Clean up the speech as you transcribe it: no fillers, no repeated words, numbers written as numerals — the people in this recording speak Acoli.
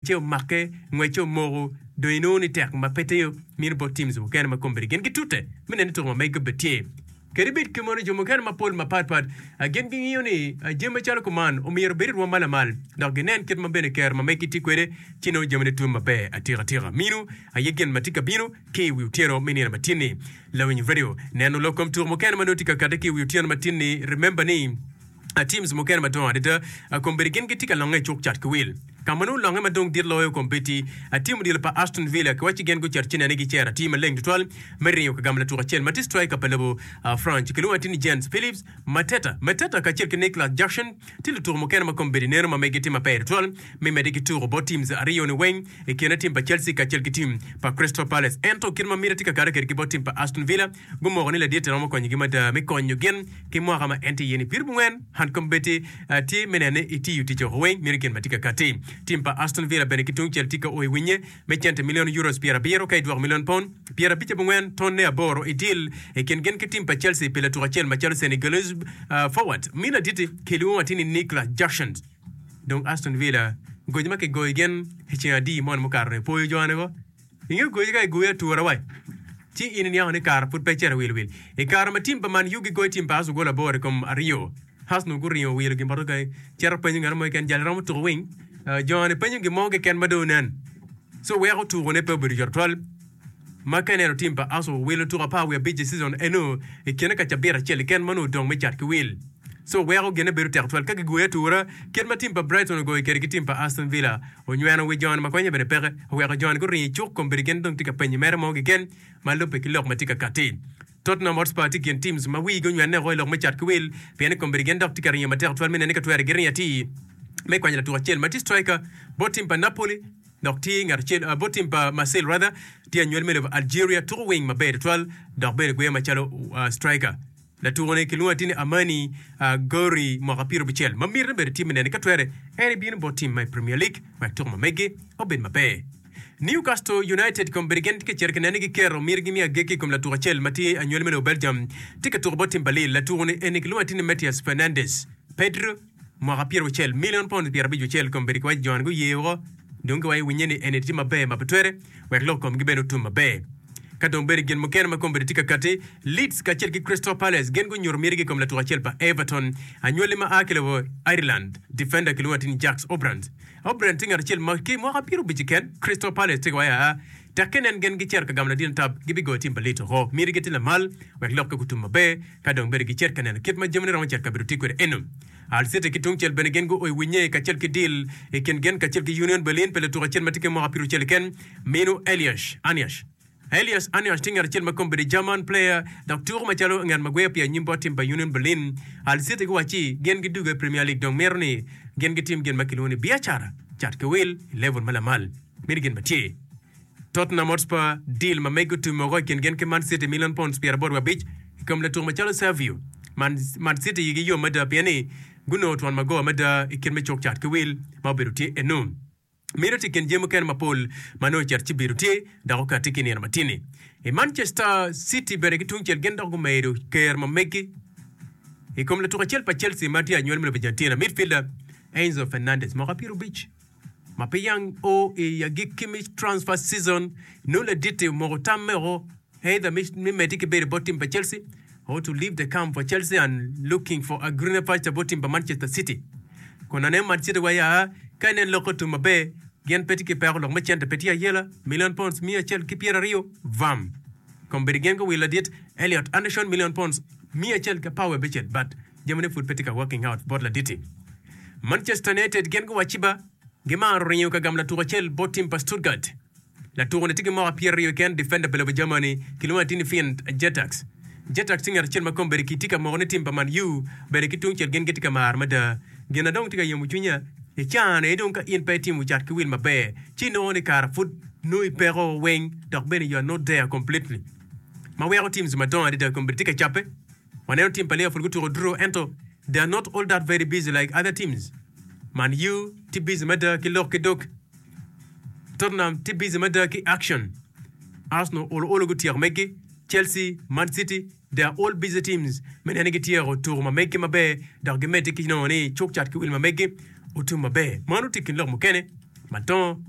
Ce omake, ngwecce omoko, dong inongo ni tek ma pe tiyo mino bot teams mukene ma kombeddi gin gitute me neno ni tuko ma megi obed tye. Kadi bed kumeno, jo mukene mapol mapat pat gin gingiyo ni jami macalo kuman omyero obed i rwom ma lamal dok ginen kit ma bene kero ma megi tye kwede ci nongo jamine tum maber atika tika. Mino aye gin ma tye ka bino ki i wi otyeno me nino matin-ni. Lawiny Radio neno lok kom tuko mukene ma nongo tye ka kati ki i wi otyeno matin-ni. Remember ni. Teams mukene madongo adada kombeddi gin gitye ka longe i cuk cat ki wil. Ka ma nongo longe ma dong dit loyo kombeddi, tim odilo pa Aston Villa kiwacci gin gucito ci nene gicero atir maleng tutwal me ringo ka gamo latuk acel ma tye striker pa lobo France kilwongo atir ni Jens Phillips Mateta. Mateta kacel ki Nicolas Jackson tye lutuku mukene ma kombeddi neno ma megi tye maber tutwal me medde ki tuko bot teams aryoni weng i kine tim pa Chelsea kacel ki tim pa Crystal Palace. Ento kit ma miti tye ka kati kwede ki bot tim pa Aston Villa Gumoko ni ladit romo konyogi mada me konyo gin ki mwaka ma en tye iye ni Pirubungwen han kombeddi tye me nene itiyo tic oko weng meno gin ma tye ka kati. Tim pa Aston Villa bene ki tungcel tye ka o i winye me cente milion euros pyerabiro ka idwoko milion pon 54 tonne aboro i deal i kin gin ki tim pa Chelsea pi latuk acel macalo Senegalese forward mi laditi kilwongo atir ni Nicolas Jackson. Dong Aston Villa goco ma kigoyo gin i ceng adi moni mukato-ni opoyo jone ko. Inge goyi ka igoyi atura wai, ci in iniango ni kara pud pe icito wil wil. I kare ma tim pa Man U gigoyo tim pa Arsenal gol aboro i kom aryo, Arsenal guringo wilo gin bot ogai cito penyo ngat mo keken jal romo tuko wing. Jo-ni penyo gin mo keken ma dong onen. So weko tukone pe obedo yot tutwal. Ma ka ineno tim pa Arsenal wilo tuko apar wiye abic i season eno i kine ka cabit acel keken ma onongo odong me cat ki wil. So weko gine bedo tek tutwal ka gigoyi atura kit ma tim pa Brighton ogoyo kwede ki tim pa Aston Villa. Onyweno wi joni ma konye bene peke, oweko joni guringo i cuk kombeddi gin dong tye ka penyo mere mo keken ma lubbe ki lok ma tye ka katti. Tottenham Hotspur tye i kin teams ma wigi onywenne woko i lok me cat ki wil pien ni kombeddi gin dok tye ka ringo matek tutwal me neno ni ka twere giringo atir me kwanyo latuk acel ma tye striker bot tim pa Napoli dok tye ngat acel bot tim pa Marseille rather tye anywali me lobo Algeria tuko wing maber tutwal dok bene gweyo macalo striker. Latuko-ni kilwongo atir ni Amani Gori, mwaka pyerabicel, ma mitine bene tye me nene ka twere en ebino bot tim ma i Premier League wek tuko ma mege obed maber. Newcastle United kombeddi gin tye ka cito ki nene ni giketo mitigi me agikki i kom latuko acel ma tye anywali me lobo Belgium tye ka tuko bot tim pa Lille. Latuko-ni eni kilwongo atir ni Matheus Fernandes Pedro, mwaka pyeraucel, milion pounds pyerabicwacel kombeddi kiwaco jo-ni guye woko dong giwaco winye ni eni tye maber ma pe twere wek lok komgi bene otum maber. Ka dong bedo gin mukene ma kombeddi tye ka katti, Leeds kacel ki Crystal Palace gin gunyuto mitigi i kom latuk acel pa Everton, anywali ma a ki lobo Ireland, defender kilwongo atir ni Jacques Obrant. Obrant tye ngat acel ma ki mwaka pyerabic keken, Crystal Palace tye ka waco aa, tekke nen gin gicito ka gamo ladit tab, gibigoyo tim pa Leeds oko. Mitigi tye lamal wek lokke gutum maber, ka dong bedo gicit ka neno kit ma jamine romo cito kabedo tye kwede eno. Hull City ki tungcel bene gin guo i winye kacel ki deal i kin gin kacel ki Union Berlin pi latuk acel ma tye ki mwaka pyeraucel keken. Minu Elias Aniash. Elias Aniash tye ngat acel ma kombeddi German player dok tuko macalo ngat ma gweyo pi anyim bot tim pa Union Berlin. Hull City guwacci gin gidugo i Premier League dong mito ni gin gitim gin ma kilwongo ni biacara, cat ki wil i level ma lamal. Meno gin ma tye. Tottenham Hotspur deal ma megi otum woko i kin gin ki Man City milion pounds 85 i kom latuko macalo Savio. Man, Man City igi yom mada pien ni gunongo twon magowa mada i kit me cuk cat ki wil ma obedo tye eno. Meno tye i kin jami mukene mapol ma nongo ocito ci bedo tye dok okatti ki i nino matini. I Manchester City bene ki tungcel gin dok gumedo ker ma megi i kom latuk acel pa Chelsea ma tye anywali me lobo Argentina, midfielder Enzo Fernandez mwaka 50 ma pe yang o i agikki me transfer season nongo ladit-ti omoko tamme woko Either me medde ki bedo bot tim pa Chelsea or to leave the camp for Chelsea and looking for a greener pasture bot tim pa Manchester City. Kun aneno Man City wa ya ka inen lok otum maber gin pe tye ki peko lok me cente pe tye ayela million pounds miya acel ki pyeraryo vam kombeddi gin guwilo ladit Elliot Anderson million pounds miya acel ki apar wiye abicel but jamine pud pe tye ka working out bot laditi. Manchester United gin guwacci ba gimaro ringo ka gamo latuk acel bot tim pa Stuttgart. Latuko-ni tye ki mwaka pyeraryo keken, defender pa lobo Germany, kilwongo atir ni Finn Jetax. Jetax tye ngat acel ma kombeddi kitye ka moko ni tim pa Man U bene ki tungcel gin gitye ka maro mada. Gin na dong tye ka yomo cwinya i caa-ni aye dong ka in pe itimo cat ki wil maber ci inongo ni kara pud nongo ipeko weng dok bene you are not there completely ma weko teams madongo adada kombeddi tye ka cabbe. Waneno tim pa Liverpool gutuko draw ento they are not all that very busy like other teams. Man U tye busy mada ki lok ki dog. Tottenham tye busy mada ki action. Arsenal olo olo gutyeko megi. Chelsea, Man City, they are all busy teams me neno ni gityeko tuko ma megi maber dok gimedde ki nongo ni cuk cat ki wil ma megi otum maber. Mano tye i kin lok mukene. Ma tongo.